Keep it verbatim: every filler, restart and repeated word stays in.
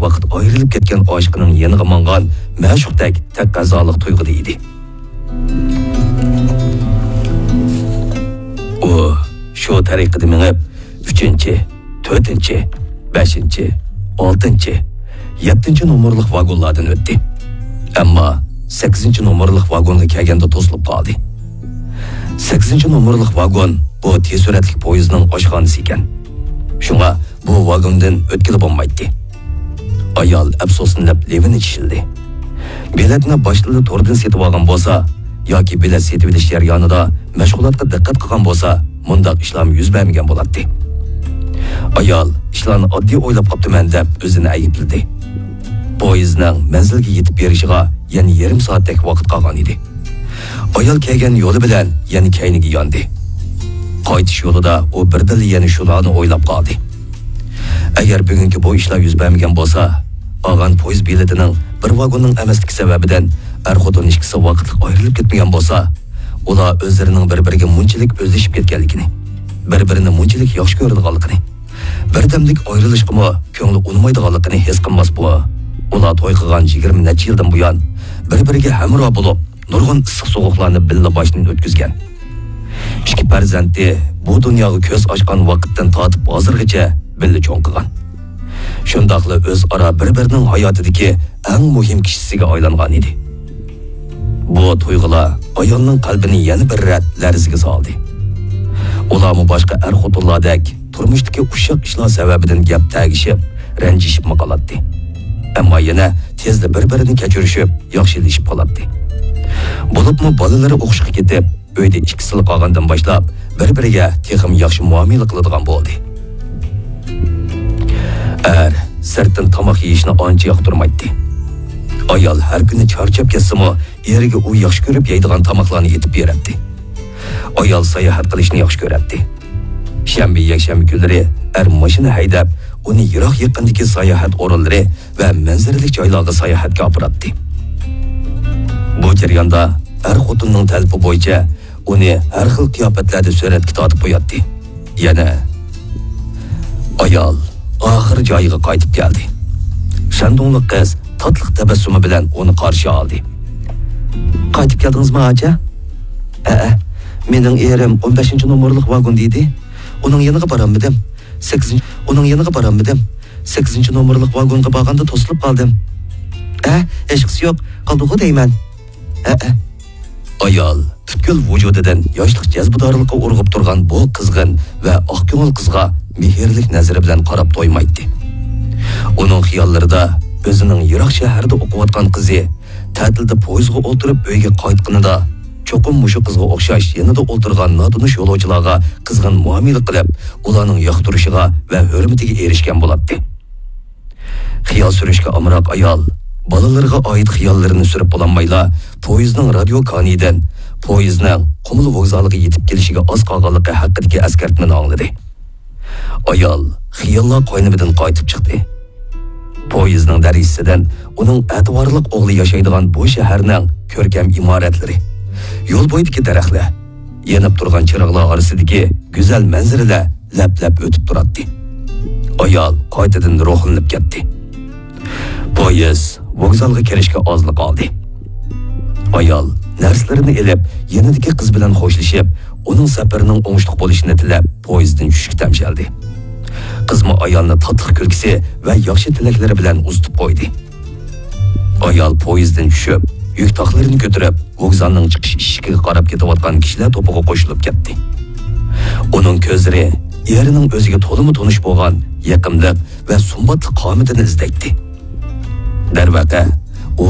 ۋاقىت ئايرىلىپ كەتكەن ئاشىقىنىڭ يېنىغا ماڭغان مەشۇقتەك تەقەززالىق تۇيغۇدا ئىدى. ئۇ شۇ تەرىقىدە مېڭىپ، ئۈچىنچى، تۆتىنچى، بەشىنچى، ئالتىنچى، يەتتىنچى نومۇرلۇق ۋاگونلاردىن ئۆتتى. ئەمما سەككىزىنچى نومۇرلۇق ۋاگونغا كەلگەندە توسۇلۇپ قالدى. سەككىزىنچى نومۇرلۇق ۋاگون بۇ تېز سۈرئەتلىك پويىزنىڭ ئاشخانىسى ئىكەن. شۇڭا بۇ ۋاگوندىن ئۆتكىلى بولمايتتى. ئايال ئەپسۇسلىنىپ لېۋىنى چىشلىدى. بېلەتنى باشتىلا توردىن سېتىۋالغان بولسا ياكى بېلەت سېتىۋېلىش جەريانىدا مەشغۇلاتقا دىققەت قىلغان بولسا، مۇنداق ئىشلارمۇ يۈز بەرمىگەن بولاتتى. ئايال ئىشلارنى ئاددىي ئويلاپ قاپتىمەن دەپ ئۆزىنى ئەيىبلىدى. پويىزنىڭ مەنزىلگە يېتىپ بېرىشىغا يەنە يېرىم سائەتتەك ۋاقىت قالغان ئىدى. ئايال كەلگەن يولى بىلەن يەنە كەينىگە ياندى. قايتىش يولىدا ئۇ بىردىنلا يەنە شۇلارنى ئويلاپ قالدى. ئەگەر بۈگۈنكى بۇ ئىشلار يۈز بەرمىگەن بولسا، ئالغان پويىز بېلىتىنىڭ بىر ۋاگوننىڭ ئەمەسلىكى سەۋەبىدىن ئەر-خوتۇن ئىككىسى ۋاقىتلىق ئايرىلىپ كەتمىگەن بولسا، ئۇلار ئۆزلىرىنىڭ بىر-بىرىگە مۇنچىلىك ئۆزلىشىپ كەتكەنلىكىنى، بىر-بىرىنى مۇنچىلىك ياخشى كۆرىدىغانلىقىنى، بىردەملىك ئايرىلىشقىمۇ كۆڭلى ئۇنىمايدىغانلىقىنى ھېس قىلماسمۇ؟ ئۇلار توي قىلغان يىگىرمە نەچچە يىلدىن بۇيان بىر-بىرىگە ھەمراھ بولۇپ، نۇرغۇن ئىسسىق-سوغۇقلارنى بىللە باشتىن ئۆتكۈزگەن. ئىككى پەرزەنتى بۇ دۇنياغا كۆز ئاچقان ۋاقىتتىن تارتىپ ھازىرغىچە بىللە چوڭ قىلغان. شۇنداقلا ئۆزئارا بىر-بىرىنىڭ ھاياتىدىكى ئەڭ مۇھىم كىشىسىگە ئايلانغان ئىدى. بۇ تۇيغۇلار ئايالنىڭ قەلبىنى يەنە بىر رەت لەرزىگە سالدى. ئۇلارمۇ باشقا ئەر-خوتۇنلاردەك تۇرمۇشتىكى ئۇششاق ئىشلار سەۋەبىدىن گەپ تەگىشىپ، رەنجىشىپمۇ قالاتتى. ئەمما يەنە تېزلا بىر-بىرىنى كەچۈرۈشۈپ، ياخشىلىشىپ قالاتتى. بولۇپمۇ بالىلىرى ئوقۇشقا كېتىپ، ئۆيدە ئىككىسىلا قالغاندىن باشلاپ، بىر-بىرىگە تېخىمۇ ياخشى مۇئامىلە قىلىدىغان بولدى. ئەر سىرتتىن تاماق يېيىشنى ئانچە ياقتۇرمايتتى. ئايال ھەر كۈنى چارچاپ كەتسىمۇ، ئېرىگە ئۇ ياخشى كۆرۈپ يەيدىغان تاماقلارنى ئېتىپ بېرەتتى. ئايال ساياھەت قىلىشنى ياخشى كۆرەتتى. شەنبە، يەكشەنبە كۈنلىرى ئەر ماشىنا ھەيدەپ، ئۇنى يىراق يېقىندىكى ساياھەت ئورۇنلىرى ۋە مەنزىرىلىك جايلارغا ساياھەتكە ئاپىراتتى. بۇ جەرياندا ئەر خوتۇننىڭ تەلىپى بويىچە ئۇنى ھەر خىل قىياپەتلەردە سۈرەتكە تارتىپ قوياتتى. يەنە ئايال ئاخىر جايىغا قايتىپ كەلدى. شەندۇڭلۇق قىز تاتلىق تەبەسسۇمى بىلەن ئۇنى قارشى ئالدى. قايتىپ كەلدىڭىزمۇ، ئاچا؟ ھەئە، مېنىڭ ئېرىم ئون بەشىنچى نومۇرلۇق ۋاگوندا ئىدى. ئۇنىڭ يېنىغا بارالمىدىم. سەككىزىنچى، ئۇنىڭ يېنىغا بارالمىدىم. سەككىزىنچى نومۇرلۇق ۋاگونغا بارغاندا توسۇلۇپ قالدىم. ئە، ھېچقىسى يوق، قالدىغۇ دەيمەن. ھەئە. ئايال پۈتكۈل ۋۇجۇدىدىن ياشلىق جەزبىدارلىقى ئۇرغۇپ تۇرغان بۇ قىزغىن ۋە ئاق كۆڭۈل قىزغا مېھىرلىك نەزىرى بىلەن قاراپ تويمايتتى. ئۇنىڭ خىياللىرىدا ئۆزىنىڭ يىراق شەھەردە ئوقۇۋاتقان قىزى تەتىلدە پويىزغا ئولتۇرۇپ ئۆيگە قايتقىنىدا، چوقۇم مۇشۇ قىزغا ئوخشاش يېنىدا ئولتۇرغان ناتونۇش يولۇچىلارغا قىزغىن مۇئامىلە قىلىپ، ئۇلارنىڭ ياقتۇرۇشىغا ۋە ھۆرمىتىگە ئېرىشكەن بولاتتى. خىيال سۈرۈشكە ئامراق ئايال بالىلىرىغا ئائىت خىياللىرىنى سۈرۈپ بولالمايلا، پويىزنىڭ رادىيو كانىيىدىن پويىزنىڭ قۇمۇل ۋوگزالىغا يېتىپ كېلىشىگە ئاز قالغانلىقى ھەققىدىكى ئەسكەرتمىنى ئاڭلىدى. ئايال خىياللار قاينىمىدىن قايتىپ چىقتى. پويىزنىڭ دەرىزىسىدىن ئۇنىڭ ئەتىۋارلىق ئوغلى ياشايدىغان بۇ شەھەرنىڭ كۆركەم ئىمارەتلىرى، يول بويىدىكى دەرەخلەر، يېنىپ تۇرغان چىراغلار ئارىسىدىكى گۈزەل مەنزىرىلەر لەپ-لەپ ئۆتۈپ تۇراتتى. ئايال قايتىدىن روھلىنىپ كەتتى. پويىز ۋوگزالغا كىرىشكە ئازلا قالدى. ئايال نەرسىلىرىنى ئېلىپ، يېنىدىكى قىز بىلەن خوشلىشىپ، ئۇنىڭ سەپىرىنىڭ ئوڭۇشلۇق بولۇشىنى تىلەپ، پويىزدىن چۈشۈشكە تەمشەلدى. قىزمۇ ئايالنى تاتلىق كۈلكىسى ۋە ياخشى تىلەكلىرى بىلەن ئۇزىتىپ قويدى. ئايال پويىزدىن چۈشۈپ، يۈك تاقلىرىنى كۆتۈرۈپ، ۋوگزالنىڭ چىقىش ئىشىكىگە قاراپ كېتىۋاتقان كىشىلەر توپىغا قوشۇلۇپ كەتتى. ئۇنىڭ كۆزلىرى ئېرىنىڭ ئۆزىگە تولىمۇ تونۇش بولغان يېقىملىق ۋە سۇمباتلىق قامىتىنى ئىزدەيتتى. دەرۋەقە، ئۇ